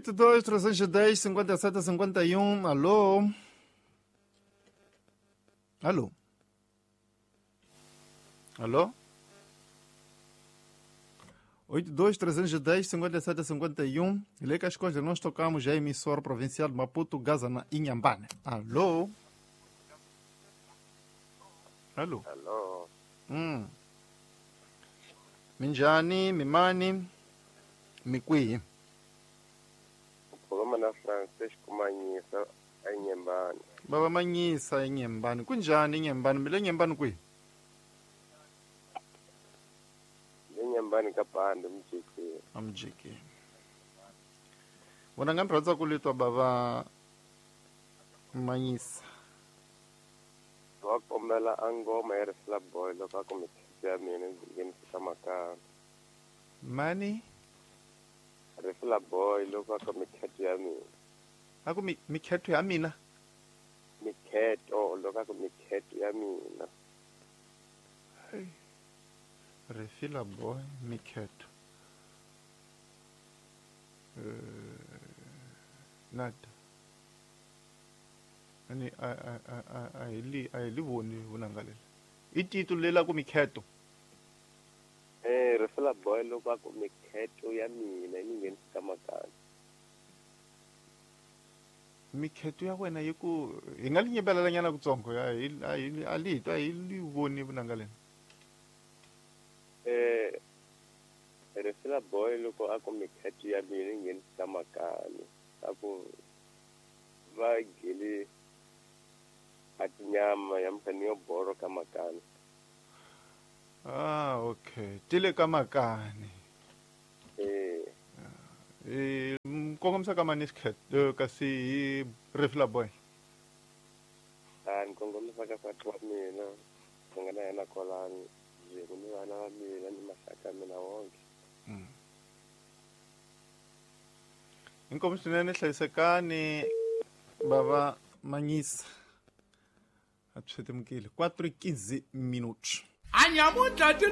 82 310 57 51. Alô? Alô? Alô? 82 310 57 51. Lê que as coisas nós tocamos já emissora provincial de Maputo, Gaza, na Inhambane. Alô? Alô? Alô. Minjani, mimani, mikwihi? Ukhuluma na Francisco Manyisa eNyembani. Baba Manyisa eNyembani. Kunjani eNyembani? Mile Nyembani kwihi? Le Nyembani kaBhandi umjiki. Amjiki. Vona nga ni rhandza ku litwa baba Manyisa. Wa kombela a ngoma ya Rifla Boy loko a ku mikhetso ya mina ndzi nghenisa makaya. Mani? Rifla Boy loko a ku mikhetso ya mina. A ku mikhetho ya mina? Mikhetho loko a ku mikhetho ya mina. Hey. Rifla Boy mikhetho. Nada. Ani a hi li a hi li voni vunanga leri. I tito lela ku mikhetho. Rifla Boy loko a ku mikhetho ya mina yi nghenisa makaya. Mikhetho ya wena yi ku hi nga li nyimbelela nyana kutsongo a hi a hi a li a hi li voni vunanga leri. Rifla Boy loko a ku mikhetho ya mina yi nghenisa makaya. A ku va gele a tinyama ya mfani yo boro ka makani. Ah, okay. Tile ka makani. Kongomisa ka mani xikhetho kasi hi Rifla Boy. A ni kongomisa ka nsati wa mina ni nga na yena kwalano byin'we ni vana va mina ni maxaka ya mina wonke. Inkomu swinene hlayisekani baba Manyisa. A swi timukile 4:15 minutos. Anyamuntlha ti